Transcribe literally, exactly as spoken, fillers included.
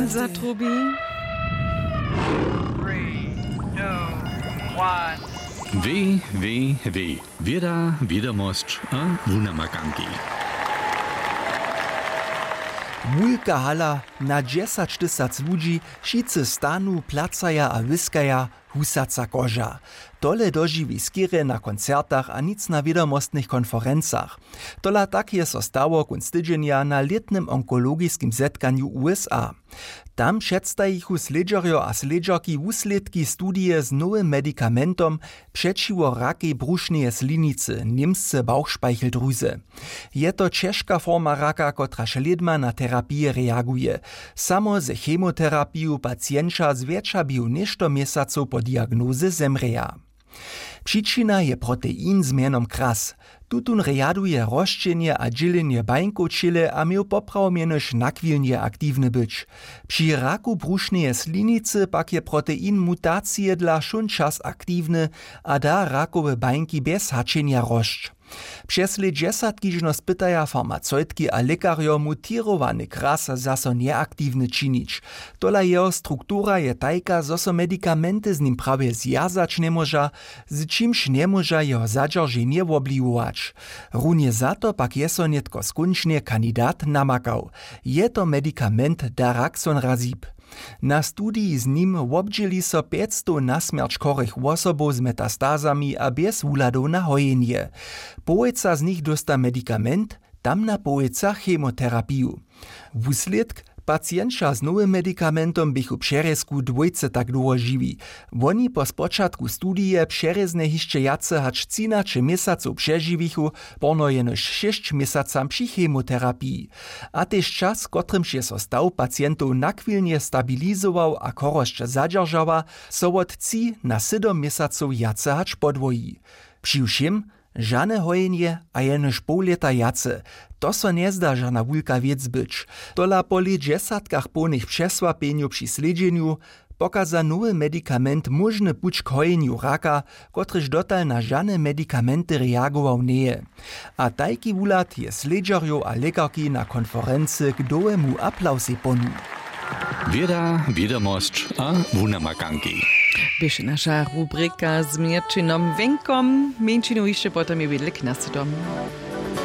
Zatrubi. Www. Wěda, wědomosć a wunamakanki. Wulka hala, na dźesać tysac ludźi, wšitcy stanu, placaja a wyskaja, husaca koža. Tole dožiwi skerje na koncertach a nic na wědomostnych konferencach. Tola tak je so stało kónc tydźenja na lětnym onkologiskim zetkanju usa. Tam předstajichu slědźerjo a slědźerki wuslědki studije z nowym medikamentom přećiwo rakej brušneje slinicy, němsce Bauchspeicheldrüse. Je to ćežka forma raka, kotraž lědma na terapije reaguje. Samo ze chemoterapiju pacienća zwjetša běhu něšto měsacow po diagnozy zemrěja. Přičina je protein z mjenom kras. Tutón rjaduje rosćenje a dźělenje bańkow w ćěle a měł poprawom jenož nachwilnje aktiwny być. Při raku brušneje slinicy pak je protein mutacije dla wšón čas aktiwny a da rakowe bańki bjez haćenja rosć. Přez lět dźesatki žno spytaja farmaceutki a lěkarjo, mutirowany kras zaso njeaktiwny činić. Tola jeho struktura je tajka, zo so medikamenty z nim prawje zwjazać njemóža, z čimž njemóža jeho zadźerženje wobliwować. Runje za to pak je so nětko skónčnje kandidat namakał. Je to medikament daraxonrazib. Na studiji z nim wobdźěli so pjećstow na smjerć chorych wosobow z metastazami a bjez wuhladow na hojenje. Połojca z nich dósta medikament, tamna połojca chemoterapiju. Wuslědk: pacienća z nowym medikamentom běchu přerězku dwójce tak dołho žiwi. Woni po spočatku studije přerěznje hišće wjace hač třinaće měsacow přežiwichu, porno jenož šěsć měsacam při chemoterapiji. A tež čas, w kotrymž je so staw pacientow nachwilnje stabilizował a chorosć zadźeržała, so wot tři na sydom měsacow wjace hač podwoji. Při wšěm žane hojenje a jenož poł lěta wjace. To so njezda žana wulka wěc być. Tola po lět dźesatkach połnych přesłapjenjow při slědźenju pokaza nowy medikament móžny puć k hojenju raka, kotryž dotal na žane medikamenty reagował njeje. A tajki wuhlad je slědźerjow a lěkarki na konferency k dołemu aplausej ponuł. Wěda, wědomosć a wunamakanki běše naša rubrika z měrćinom wjenkom. Mjeńšinu hišće potom je wjedle k nasytom.